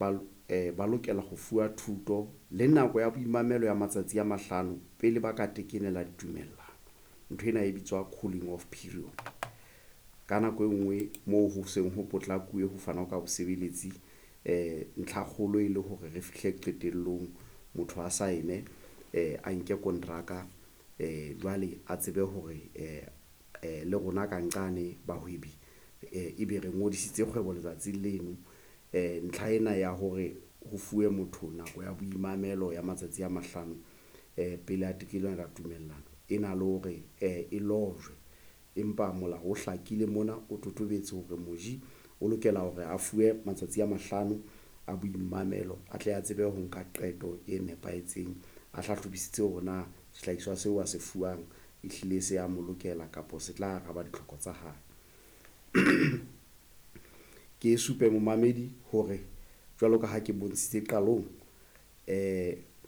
ba lokela ho fuwa thuto le nako ya boimamelo ya matsatsi a 5 pele ba ka tekenela ditumellano. Ntho ena e bitswa cooling off period. Ka nako e nngwe moo ho seng ho potlakuwe ho fanwa ka bosebeletsi, ntlha kgolo e le hore re fihle qetellong, motho a saene, a nke kontraka, jwale a tsebe hore le rona ka nqane bahwebi ebe re ngodisitse kgwebo letsatsing leno. Ntlha ena ya hore ho fuwe motho nako ya boimamelo ya matsatsi a 5 pele a tekenela tumellano e na le hore e lojwe, empa molao o hlakile mona, o totobetse hore moji o lokela hore a fuwe matsatsi a 5 a boimamelo a tle a tsebe ho nka qeto e nepahetseng, a hlahlobisitse hore na sehlahiswa seo a se fuwang ehlile se a mo lokela kapa se tla araba ditlhoko tsa hae. Ke supe momamedi hore jwalo ka ha ke bontshitse qalong,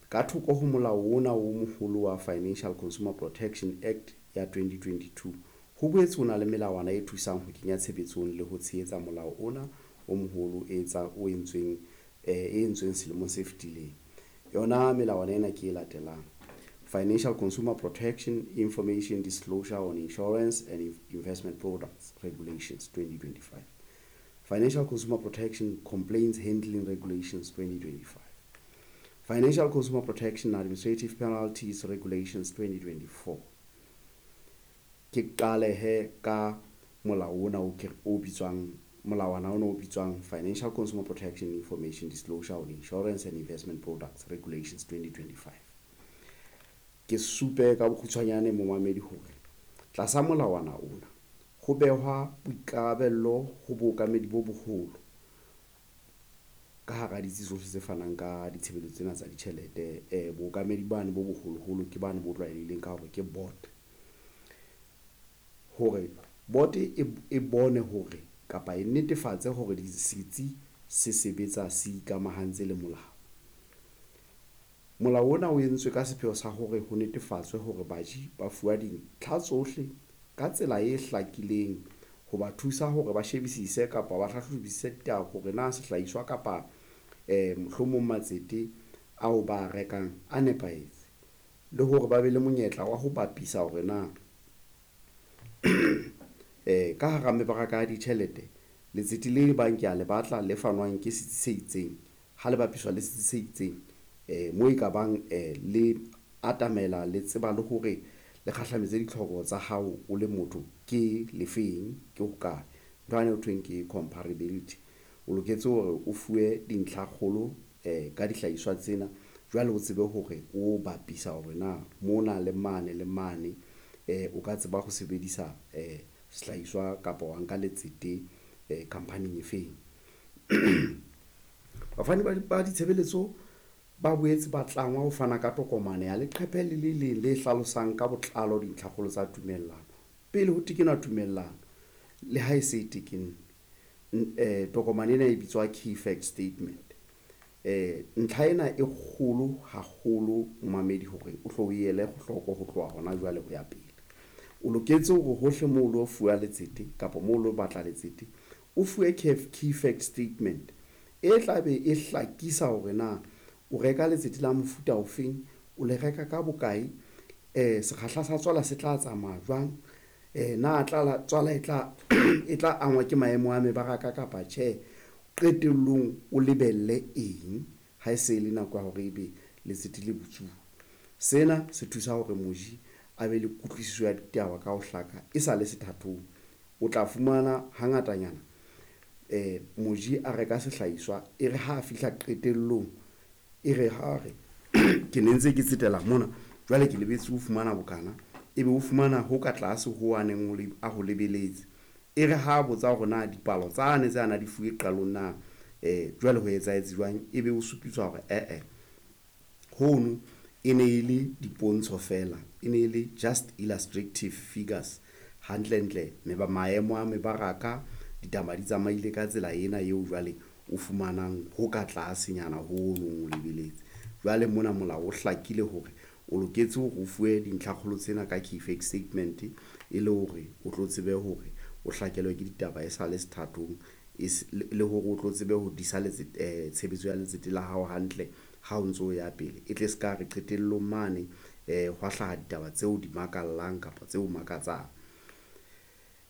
ka thoko ho molao ona o moholo wa Financial Consumer Protection Act ya 2022, ho boetse ho na le melawana e thusang ho kenya tshebetsong le ho tshehetsa molao ona o moholo e etsa o entsweng e entsweng selemong se fetileng. Yona melawana ena ke e latelang: Financial Consumer Protection Information Disclosure on Insurance and Investment Products Regulations 2025, Financial Consumer Protection Complaints Handling Regulations 2025, Financial Consumer Protection Administrative Penalties Regulations 2024. Ke qale he ka molao ona o ke o bitswang molawana ona o bitswang Financial Consumer Protection Information Disclosure on Insurance and Investment Products Regulations 2025. Ke supe ka bokgutshwanyane momamedi hore tlasa molawana ona ho behwa boikarabello ho bookamedi bo boholo ka hara ditsi tsohle tse fanang ka ditshebeletso tsena tsa ditjhelete. Bookamedi bane bo boholoholo ke bane bo tlwaelehileng ka hore ke board, hore board e bone hore kapa e netefatse hore setsi se sebetsa se ikamahantse le molao. Molao ona o entswe ka sepheo sa hore ho netefatswe hore baji ba fuwa dintlha tsohle ka tsela e hlakileng ho ba thusa hore ba shebisise kapa ba hlahlobisise ditaba hore na sehlahiswa kapa mohlomong matsete ao ba rekang a nepahetse, le hore ba be le monyetla wa ho bapisa hore na ka hara mebaraka ya ditjhelete letsete le bang ke a le batla le fanwang ke setsi se itseng ha le bapiswa le setsi se itseng, mo e ka bang le atamela le tseba le hore le kgahlametse ditlhoko tsa hao o le motho ke lefeng, ke hokae. Ntho yane ho thweng ke comparability. O loketse hore o fuwe dintlha kgolo ka dihlahiswa tsena, jwale o tsebe hore o bapisa hore na mona le mane le mane, o ka tseba ho sebedisa sehlahiswa kapa wa nka letsete khampaning e feng. Bafani ba ditshebeletso ba boetse ba tlangwa ho fana ka tokomane ya leqephe le le leng le hlalosang ka botlalo dintlhakgolo tsa tumellano pele ho tekenwa tumellano le ha e se e tekennwe. Tokomane ena e bitswa key fact statement. Ntlha ena e kgolo haholo momamedi hore o hlo o ele hloko ho tloha hona jwale ho ya pele. O loketse hore hohle moo o lo fuwa letsete kapa moo o lo batla letsete, o fuwe key fact statement e tla be e hlakisa hore na o reka letsete la mofuta ofeng, o le reka ka bokae, sekgahla sa tswala se tla tsamaya jwang, na tswala e tla angwa ke maemo a mebaraka kapa tjhe. Qetellong o lebelle eng ha e se le nako ya hore ebe letsete le butsuwe. Sena se thusa hore moji a be le kutlwisiso ya ditaba ka ho hlaka e sa le sethathong. O tla fumana hangatanyana moji a reka sehlahiswa e re ha a fihla qetellong, e re ha re ke ne ntse ke tsetela mona jwale ke lebetse ho fumana bokana, ebe o fumana ho ka tlase ho a neng a ho lebeletse. E re ha botsa hore na dipalo tsane tse ana di fuwe qalong na, jwale ho etsahetse jwang, ebe o supiswa hore hono e ne e le dipontsho fela, e ne e le just illustrative figures. Hantlentle maemo a mebaraka ditaba di tsamaile ka tsela ena eo jwale o fumanang ho ka tlasenyana ho o lebeletse. Jwale mona molao o hlakile hore o loketse hore o fuwe dintlhakgolo tsena ka key fact statement e le hore o tlo tsebe hore o hlakelwe ke ditaba e sale sethathong. Le hore o tlo tsebe ho disa tshebetso ya letsete la hao hantle ha o ntso ya pele, e tle se ka re qetellong mane hwa hlaha ditaba tseo di makallang kapa tseo makatsang.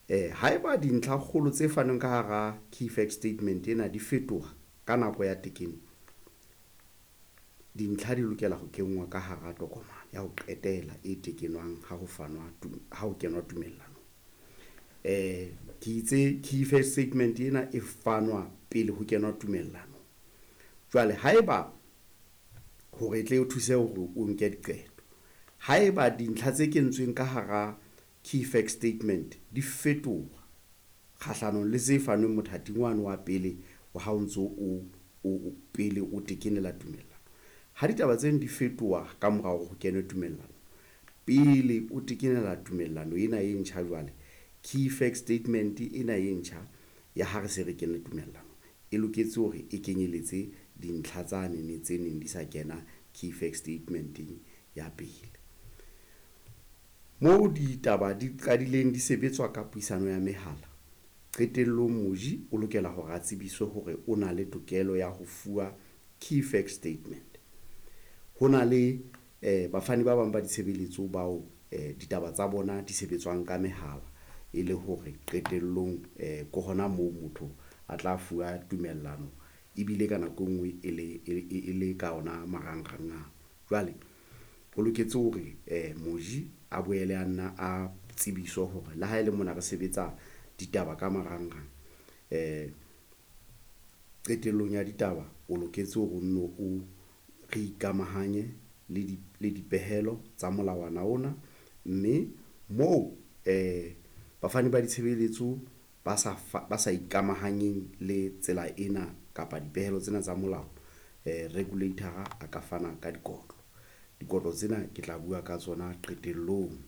Haeba dintlha kgolo tse fanweng ka hara key fact statement ena di fetoha ka nako ya tekeno, dintlha di lokela ho kenngwa ka hara tokomane ya ho qetela e tekenwang ha ho fanwa ha ho kenwa tumellanong. Ke itse key fact statement ena e fanwa pele ho kenwa tumellanong. Jwale haeba hore e tle o thuse hore o nke diqeto, haeba dintlha tse kentsweng ka hara key fact statement di fetoha kgahlanong le tse fanweng mothating wane wa pele ha o ntso o pele o tekenela tumellano, ha ditaba tseno di fetoha ka mora hore ho kenwe tumellano, pele o tekenela tumellano ena e ntjha, jwale key fact statement ena e ntjha ya ha re se re kene tumellano e loketse hore e kenyeletse dintlha tsane ne tse neng di sa kena key fact statement-eng ya pele. Moo ditaba di qadileng di sebetswa ka puisano ya mehala, qetellong moji o lokela hore a tsebiswe hore o na le tokelo ya ho fuwa key fact statement. Ho na le bafani ba bang ba ditshebeletso bao ditaba tsa bona di sebetswang ka mehala, e le hore qetellong ke hona moo motho a tla fuwa tumellano ebile ka nako e nngwe e le ka ona marangrang ana. Jwale ho loketse hore moji a boele a nna a tsebiswe hore le ha ele mona re sebetsa ditaba ka marangrang, qetellong ya ditaba o loketse hore o nno o re ikamahanye le dipehelo tsa molawana ona, mme moo bafani ba ditshebeletso ba sa ikamahanyeng le tsela ena kapa dipehelo tsena tsa molao, regulator a ka fana ka dikotlo. Dikotlo tsena ke tla bua ka tsona qetellong.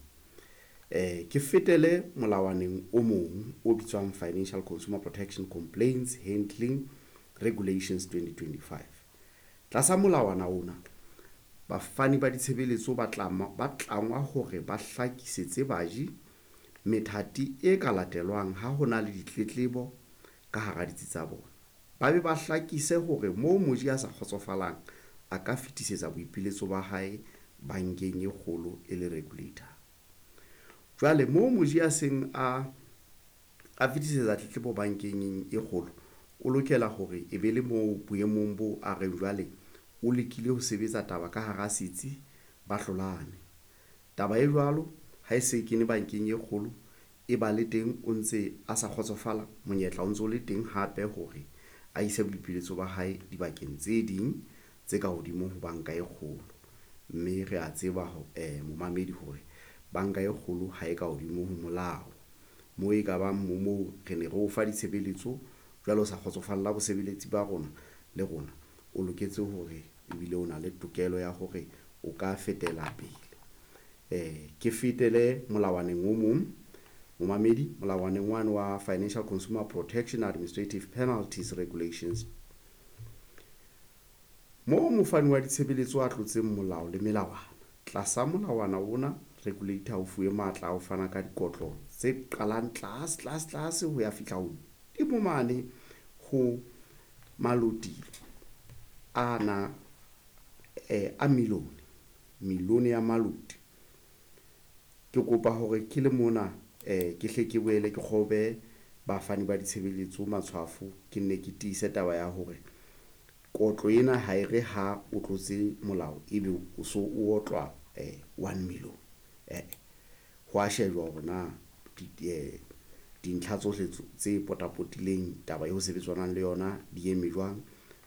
Ke fetele molawaneng o mong o bitswang Financial Consumer Protection Complaints Handling Regulations 2025. Tlasa molawana ona, bafani ba ditshebeletso ba tlangwa hore ba hlakisetse baji methati e ka latelwang ha ho na le ditletlebo ka hara ditsi tsa bona. Ba be ba hlakise hore moo moji a sa kgotsofalang a ka fetisetsa boipiletso ba hae bankeng e kgolo e le regulator. Jwale moo moji a seng a fetisetsa tletlebo bankeng e kgolo, o lokela hore e be le moo boemong bo a reng jwale o lekile ho sebetsa taba ka hara setsi, ba hlolane. Taba e jwalo ha e se kene bankeng e kgolo, e ba le teng o ntse a sa kgotsofala, monyetla o ntso le teng hape hore a ise boipiletso ba hae dibakeng tse ding tse ka hodimo ho banka e kgolo. Mme re a tseba momamedi hore banka e kgolo ha e ka hodimo ho molao, moo e ka bang moo re ne re o fa ditshebeletso jwale o sa kgotsofalla bosebeletsi ba rona le rona, o loketse hore ebile o na le tokelo ya hore o ka fetela pele. Ke fetele molawaneng o mong momamedi, molawaneng wane wa Financial Consumer Protection Administrative Penalties Regulations. Moo mofani wa ditshebeletso a tlotseng molao le melawana tlasa molawana ona, regulator o fuwe matla a ho fana ka dikotlo tse qalang tlase tlase tlase ho ya fihla hodimo mane ho maloti ana a milione, milione ya maloti. Ke kopa hore ke le mona ke hle ke boele ke kgobe bafani ba ditshebeletso matshwafo, ke nne ke tiise taba ya hore kotlo ena ha e re ha o tlotse molao ebe o so o otlwa 1 million. Ho a shejwa hore na dintlha tsohle tse potapotileng taba eo sebetsanang le yona di eme jwang.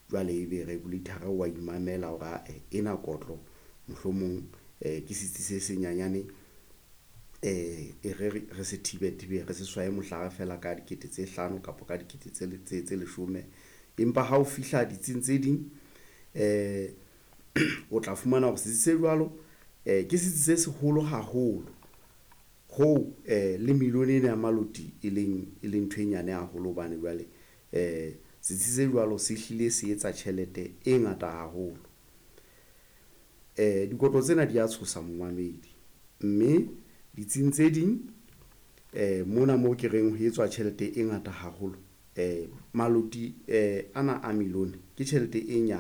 Jwale ebe regulator wa imamela hore ae ena kotlo mohlomong ke setsi se senyanyane, e re se thibe thibe, re se swaye mohlare fela ka dikete tse 5 kapa ka dikete tse 10. Empa ha o fihla ditsing tse ding, o tla fumana hore setsi se jwalo ke setsi se seholo haholo ho le milione ena ya maloti e leng ntho e nyane haholo, hobane jwale setsi se jwalo se hlile se etsa tjhelete e ngata haholo. Dikotlo tsena di a tshosa momamedi, mme ditsing tse ding mona moo ke reng ho etswa tjhelete e ngata haholo, Maloti ana a milione ke tjhelete e nyane.